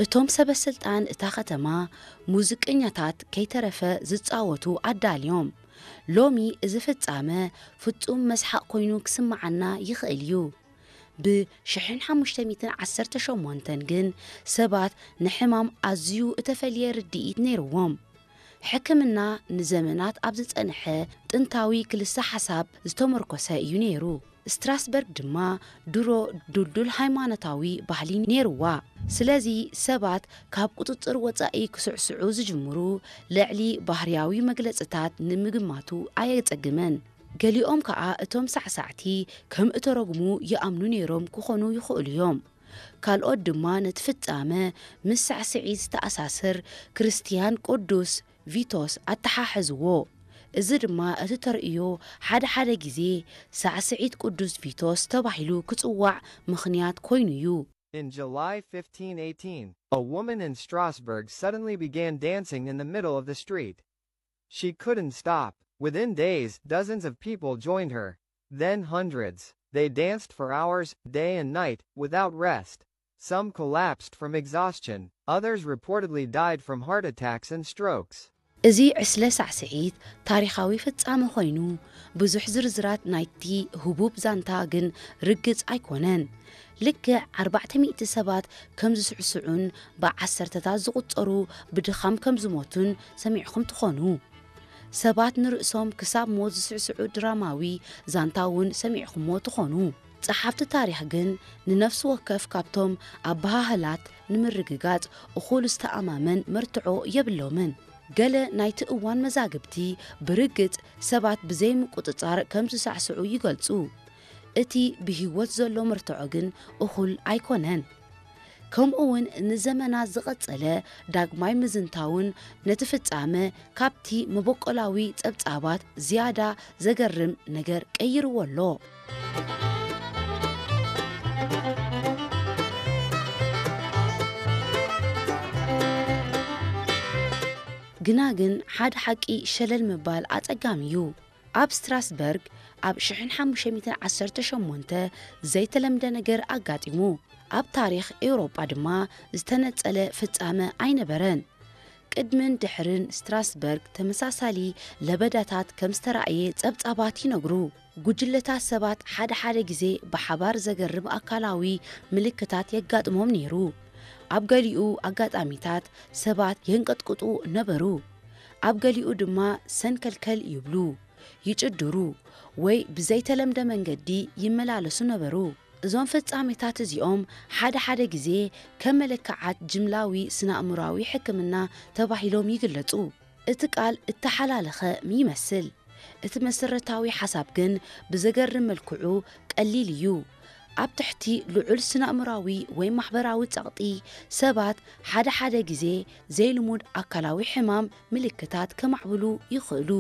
እቶም ሰበ ስልጣን እታ ከተማ ሙዚቀኛታት ከይተረፈ ዝጻወቱ ኣዳልዮም። ሎሚ እዚ ፍጻመ ፍጹም መስሓቕ ኮይኑ ክስምዓና ይኽእል እዩ። ብ ሽሕን ሓሙሽተ ሚእትን ዓሰርተ ሸሞንተን ግን ሰባት ንሕማም ኣዝዩ እተፈልየ ርድኢት ነይርዎም። ሕክምና ንዘመናት ኣብ ዝጸንሐ ጥንታዊ ክልሰ ሓሳብ ዝተመርኮሰ እዩ ነይሩ። ስትራስበርግ ድማ ድሮ ድልዱል ሃይማኖታዊ ባህሊ ነይርዋ። ስለዚ ሰባት ካብ ቁጽጽር ወጻኢ ክስዕስዑ ዝጅምሩ ልዕሊ ባህርያዊ መግለጽታት ንምግማቱ ኣየጸግምን። ገሊኦም ከኣ እቶም ሳዕሳዕቲ ከም እተረጉሙ ይኣምኑ ነይሮም ክኾኑ ይኽእሉ እዮም። ካልኦት ድማ ነቲ ፍጻመ ምስ ሳዕስዒት ዝተኣሳሰር ክርስትያን ቅዱስ ቪቶስ ኣተሓሕዝዎ። እዚ ድማ እቲ ተርእዮ ሓደ ሓደ ግዜ ሳዕስዒት ቅዱስ ቪቶስ ተባሂሉ ክጽዋዕ ምኽንያት ኮይኑ እዩ። In July fifteen eighteen, a woman in Strasbourg suddenly began dancing in the middle of the street. She couldn't stop. Within days, dozens of people joined her. Then hundreds. They danced for hours, day and night, without rest. Some collapsed from exhaustion, others reportedly died from heart attacks and strokes. እዚ ዕስለ ሳዕስዒት ታሪኻዊ ፍጻመ ኮይኑ፣ ብዙሕ ዝርዝራት ናይቲ ህቡብ ዛንታ ግን ርግጽ ኣይኮነን። ልክዕ ኣርባዕተ ሚእቲ ሰባት ከም ዝስዕስዑን ብዓሰርተታት ዝቑጸሩ ብድኻም ከም ዝሞቱን ሰሚዕኹም ትኾኑ። ሰባት ንርእሶም ክሳብ ሞት ዝስዕስዑ ድራማዊ ዛንታ እውን ሰሚዕኹምዎ ትኾኑ። ጸሓፍቲ ታሪኽ ግን ንነፍሲ ወከፍ ካብቶም ኣበሃህላት ንምርግጋጽ እኹል ዝተኣማመን መርትዖ የብሎምን። ገለ ናይቲ እዋን መዛግብቲ ብርግጽ ሰባት ብዘይ ምቁጽጻር ከም ዝሳዕስዑ ይገልጹ። እቲ ብህይወት ዘሎ መርትዖ ግን እኹል ኣይኮነን። ከምኡ እውን ንዘመናት ዝቐጸለ ዳግማይ ምዝንታውን ነቲ ፍጻመ ካብቲ መበቆላዊ ጸብጻባት ዝያዳ ዘገርም ነገር ቀይርዎ ኣሎ። ግና ግን ሓደ ሓቂ ሸለል ምባል ኣጸጋሚ እዩ። ኣብ ስትራስበርግ ኣብ ሽሕን ሓሙሽተ ሚእትን ዓሰርተ ሸሞንተ ዘይተለምደ ነገር ኣጋጢሙ። ኣብ ታሪኽ ኤውሮጳ ድማ ዝተነጸለ ፍጻመ ኣይነበረን። ቅድምን ድሕርን ስትራስበርግ ተመሳሳሊ ለበዳታት ከም ዝተራእየ ጸብጻባት ይነግሩ። ጉጅለታት ሰባት ሓደ ሓደ ግዜ ብሓባር ዘገርም ኣካላዊ ምልክታት የጋጥሞም ነይሩ። ኣብ ገሊኡ ኣጋጣሚታት ሰባት የንቀጥቅጡ ነበሩ። ኣብ ገሊኡ ድማ ሰንከልከል ይብሉ፣ ይጭድሩ፣ ወይ ብዘይተለምደ መንገዲ ይመላለሱ ነበሩ። እዞም ፍጻሜታት እዚኦም ሓደ ሓደ ግዜ ከም መለክዓት ጅምላዊ ስነ-ኣእምሮኣዊ ሕክምና ተባሂሎም ይግለጹ። እቲ ቃል እተሓላለኸ ይመስል። እቲ መሰረታዊ ሓሳብ ግን ብዘገርም መልክዑ ቀሊል እዩ። ኣብ ትሕቲ ልዑል ስነ-ኣእምሮኣዊ ወይ ማሕበራዊ ጸቕጢ፣ ሰባት ሓደ ሓደ ግዜ ዘይልሙድ ኣካላዊ ሕማም ምልክታት ከማዕብሉ ይኽእሉ።